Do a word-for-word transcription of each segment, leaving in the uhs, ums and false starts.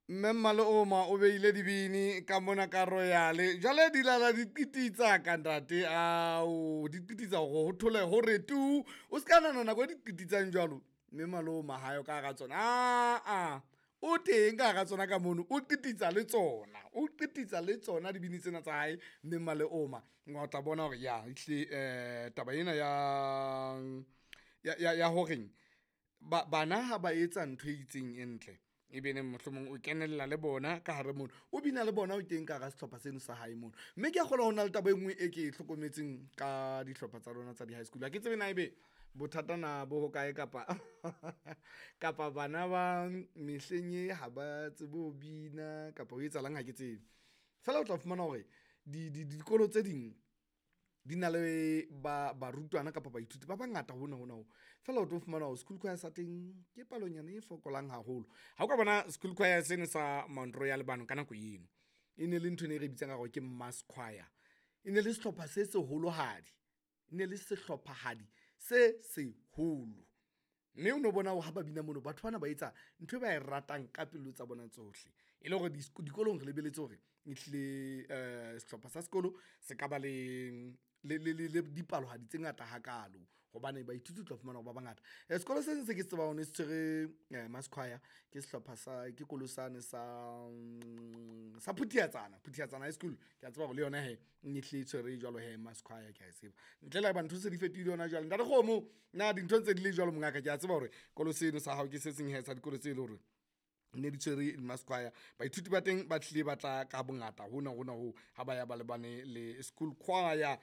Mme Mmaleoma o beile dibini ka mona ka Royal. Jwale di lala di qititsa ka ntate ao, di qititsa hore ho thole hore tu. O ska nahana nako e di qititsang jwalo mme Maloma hayo ka hara tsona. Aa, o teng ka hara tsona ka mono, o qititsa le tsona, o qititsa le tsona dibini tsena tsa hae mme Mmaleoma. O tla bona hore ya ehlile eh taba ena ya ya ya horeng bana ha ba etsa ntho e itseng e ntle, ebe neng mohlomong o kenella le bona ka hare mono, o bina le bona o teng ka hara sehlopha seno sa hae mono. Mme ke a kgolwa ho na le taba e nngwe e ke e hlokometseng ka dihlopha tsa lona tsa di-high school. Ha ke tsebe na ebe bothata na bo hokae kapa kapa bana ba mehleng e ha ba tsebe ho bina kapa ho etsahalang ha ke tsebe. Feela o tla fumana hore dikolo tse ding di na le ba barutwana kapa baithuti ba bangata hona hona ho. Feela o tlo fumana hore school choir sa teng ke palonyana e fokolang haholo. Ha o ka bona school choir seno sa Mount Royal bano ka nako eno, e ne le ntho ene e re bitsang ka hore ke mass choir. E ne le sehlopha se seholohadi, e ne le sehlophahadi se seholo. Mme o no bona hore ha ba bina mono, batho bana ba etsa ntho e ba e ratang ka pelo tsa bona tsohle. E le hore dikolong re lebelletse hore ehlile sehlopha sa sekolo se ka ba le le le dipalohadi tse ngata hakaalo hobane baithuti o tla fumana hore ba bangata. Sekolo se seng se ke se tsebang se tshwere mass choir ke sehlopha sa ke kolo sane sa sa Phuthiatsana, Phuthiatsana High School. Ke a tseba hore le yona hee e hlile e tshwere jwalo hee mass choir, ke a e tseba. Ntle le haeba ntho se di fetohile hona jwale. Ntate Kgomo na dintho ntse di le jwalo mongaka? Ke a tseba hore kolo seno sa hao ke se seng hee sa dikolo tse leng hore ne di tshwere mass choir. Baithuti ba teng ba hlile ba tla ka bongata hona hona hoo ha ba ya ba lebane le school choir.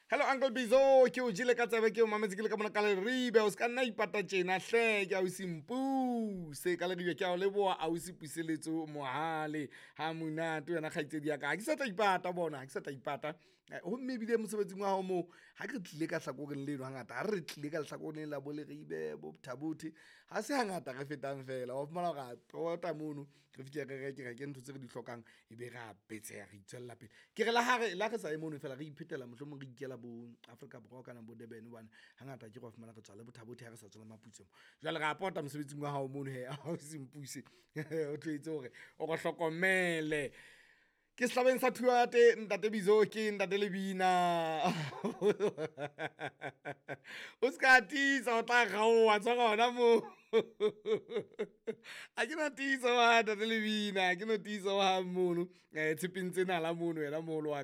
Hello Uncle Bizo, ke o jele ka tsebe ke o mametse ke le ka mona ka Leribe. O ska nna ipata tjena hle, ke ausi Mpuse ka Leribe. Ke a o leboha ausi Puseletso Mohale. Ha monate wena kgaitsedi ya ka. Ha ke sa tla ipata bona, ha ke sa tla ipata. Homme ebile mosebetsing wa hao moo, ha ke tlile ka hlakoreng leno hangata, ha re tlile ka lehlakoreng la bo Leribe bo Thabuthe, ha se hangata re fetang feela. Wa fumana hore ra pota mono, re fihle re reke reke ntho tse re di hlokang, ebe ra betseha re itswella pele. Ke re le ha re le ha re sa ye mono feela re iphetela mohlomong re ikela bo Afrika Borwa kana bo Durban hobane hangata akere wa fumana re tswa le bo Thabuthe ha re sa tswa le Maputswe mo. Jwale ra pota mosebetsing wa hao mono hee ausi Mpuse o tlo hore o re hlokomele. Ke sehlabeng sa Thuate ntate Bizo ke ntate Lebina. O ska tiisa o tla kgaoha tshwara hona moo. Ha ke no tiisa wa ntate Lebina, ha ke no tiisa hohang mono. Tshepeng tse nala mono wena moholo wa ka.